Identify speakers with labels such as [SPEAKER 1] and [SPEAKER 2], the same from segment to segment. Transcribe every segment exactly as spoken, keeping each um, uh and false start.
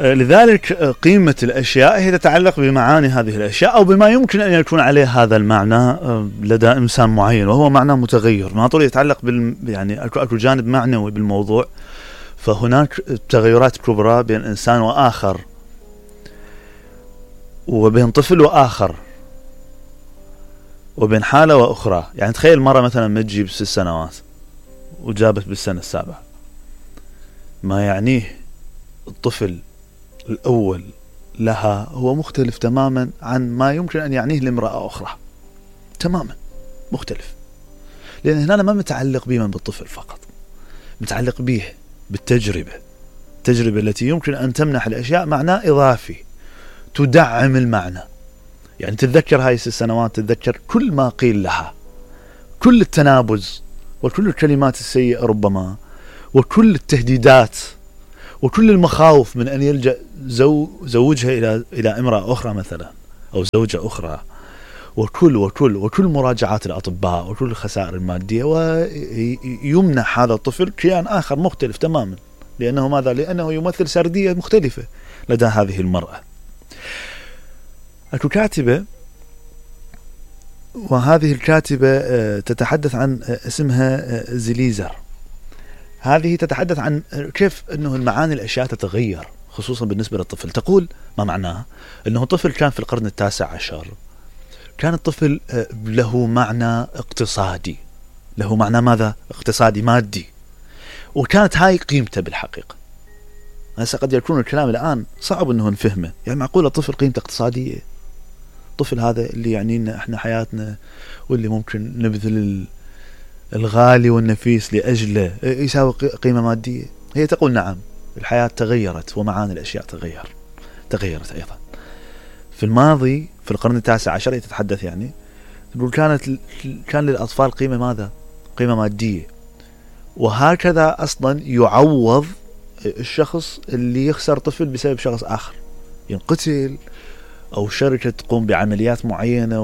[SPEAKER 1] لذلك قيمة الأشياء هي تتعلق بمعاني هذه الأشياء أو بما يمكن أن يكون عليه هذا المعنى لدى إنسان معين، وهو معنى متغير ما طول يتعلق بال يعني أكو جانب معنوي بالموضوع. فهناك تغيرات كبرى بين إنسان وآخر، وبين طفل وآخر، وبين حالة وأخرى. يعني تخيل مرة مثلا ما تجيب ست سنوات وجابت بالسنة السابعة، ما يعنيه الطفل الأول لها هو مختلف تماما عن ما يمكن أن يعنيه لامرأة أخرى، تماما مختلف. لأن هنا ما متعلق بمن بالطفل فقط، متعلق به بالتجربة، التجربة التي يمكن أن تمنح الأشياء معنى إضافي تدعم المعنى. يعني تتذكر هاي الست سنوات، تتذكر كل ما قيل لها، كل التنابز وكل الكلمات السيئة ربما، وكل التهديدات وكل المخاوف من أن يلجأ زو زوجها إلى إلى امرأة أخرى مثلا أو زوجة أخرى، وكل وكل وكل مراجعات الأطباء وكل الخسائر المادية، ويمنح هذا الطفل كيان آخر مختلف تماما. لأنه ماذا؟ لأنه يمثل سردية مختلفة لدى هذه المرأة. أكو كاتبة، وهذه الكاتبة تتحدث عن اسمها زليزر. هذه تتحدث عن كيف أنه المعاني الأشياء تتغير خصوصا بالنسبة للطفل. تقول ما معناها أنه طفل كان في القرن التاسع عشر، كان الطفل له معنى اقتصادي، له معنى ماذا؟ اقتصادي مادي، وكانت هاي قيمته بالحقيقة. هسه قد يكون الكلام الآن صعب أنه نفهمه. يعني معقولة طفل قيمته اقتصادية؟ طفل هذا اللي يعني لنا احنا حياتنا واللي ممكن نبذل الغالي والنفيس لأجله يساوي قيمة مادية؟ هي تقول نعم، الحياة تغيرت ومعاني الأشياء تغير تغيرت أيضا. في الماضي في القرن التاسع عشر هي تتحدث يعني تقول كانت كان للأطفال قيمة ماذا؟ قيمة مادية. وهكذا أصلا يعوض الشخص اللي يخسر طفل بسبب شخص آخر، ينقتل أو شركة تقوم بعمليات معينة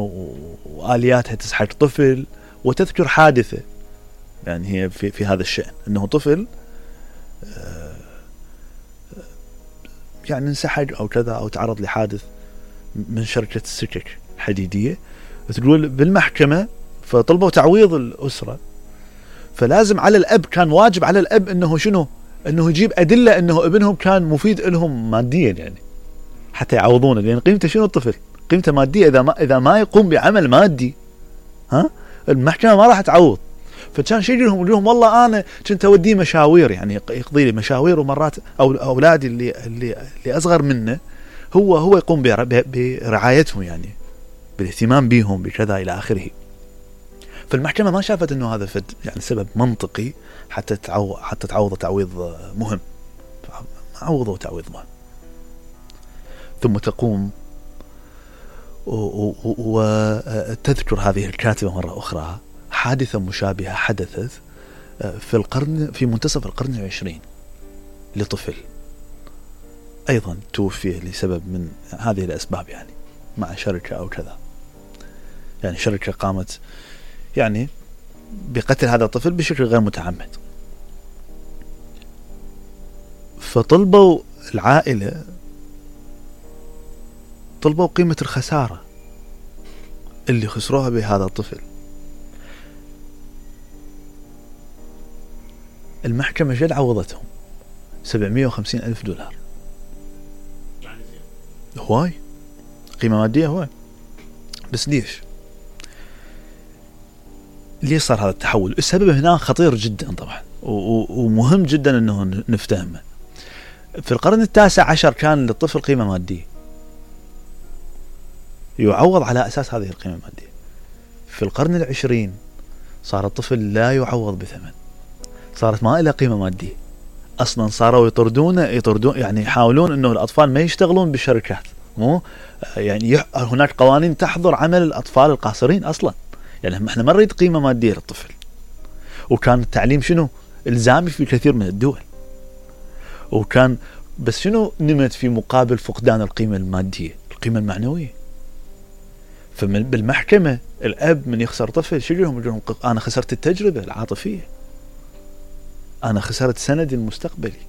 [SPEAKER 1] وآلياتها تسحق طفل وتذكر حادثة. يعني هي في, في هذا الشأن أنه طفل يعني انسحق أو كذا أو تعرض لحادث من شركة السكك الحديدية، تقول بالمحكمة فطلبوا تعويض الأسرة، فلازم على الأب، كان واجب على الأب أنه شنو؟ أنه يجيب أدلة أنه ابنهم كان مفيد لهم ماديا، يعني حتى يعوضونه. لأن قيمته شنو الطفل؟ قيمته مادية. إذا ما إذا ما يقوم بعمل مادي ها المحكمة ما راح تعوض. فكان شيء لهم يقول لهم والله أنا كنت أوديه مشاوير، يعني يقضي لي مشاوير، ومرات أو أولادي اللي اللي اللي أصغر منه هو هو يقوم برعايتهم، يعني بالاهتمام بهم بكذا إلى آخره. فالمحكمة ما شافت إنه هذا فد يعني سبب منطقي حتى تعو حتى تعوض تعويض مهم، عوضوا تعويض مهم. ثم تقوم وتذكر هذه الكاتبة مرة أخرى حادثة مشابهة حدثت في القرن في منتصف القرن العشرين لطفل أيضا توفي لسبب من هذه الأسباب، يعني مع شركة أو كذا. يعني شركة قامت يعني بقتل هذا الطفل بشكل غير متعمد. فطلبوا العائلة طلبوا قيمة الخسارة اللي خسروها بهذا الطفل. المحكمة جد عوضتهم سبعمية وخمسين ألف دولار. هواي قيمة مادية هواي. بس ليش ليش صار هذا التحول؟ السبب هنا خطير جدا طبعا ومهم جدا انه نفتهمه. في القرن التاسع عشر كان للطفل قيمة مادية يعوض على أساس هذه القيمة المادية. في القرن العشرين صار الطفل لا يعوض بثمن، صارت ما إلى قيمة مادية أصلا. صاروا يطردون يطردون يعني يحاولون أنه الأطفال ما يشتغلون بالشركات، مو يعني هناك قوانين تحظر عمل الأطفال القاصرين أصلا. يعني احنا ما نريد قيمة مادية للطفل. وكان التعليم شنو إلزامي في كثير من الدول، وكان بس شنو نمت في مقابل فقدان القيمة المادية؟ القيمة المعنوية. فبالمحكمة الأب من يخسر طفل شو يقولهم؟ يقولهم أنا خسرت التجربة العاطفية، أنا خسرت سندي المستقبلي،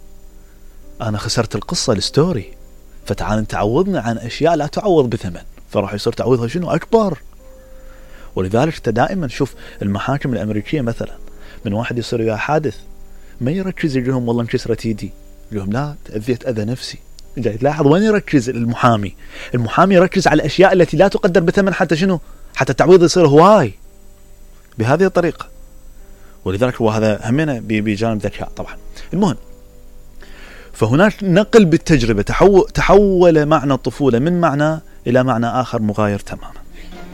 [SPEAKER 1] أنا خسرت القصة الستوري، فتعال انت عوضنا عن أشياء لا تعوض بثمن، فراح يصير تعويضها شنو أكبر. ولذلك انت دائما شوف المحاكم الأمريكية مثلا، من واحد يصير وياه حادث ما يركز يقولهم والله انكسرت يدي، يقولهم لا تأذيت أذى نفسي. جاي تلاحظ وين يركز المحامي؟ المحامي يركز على الأشياء التي لا تقدر بثمن، حتى شنو؟ حتى التعويض يصير هواي بهذه الطريقة. ولذلك هو هذا همنا بجانب ذكاء طبعا. المهم، فهناك نقل بالتجربة، تحول, تحول معنى الطفولة من معنى إلى معنى آخر مغاير تماما.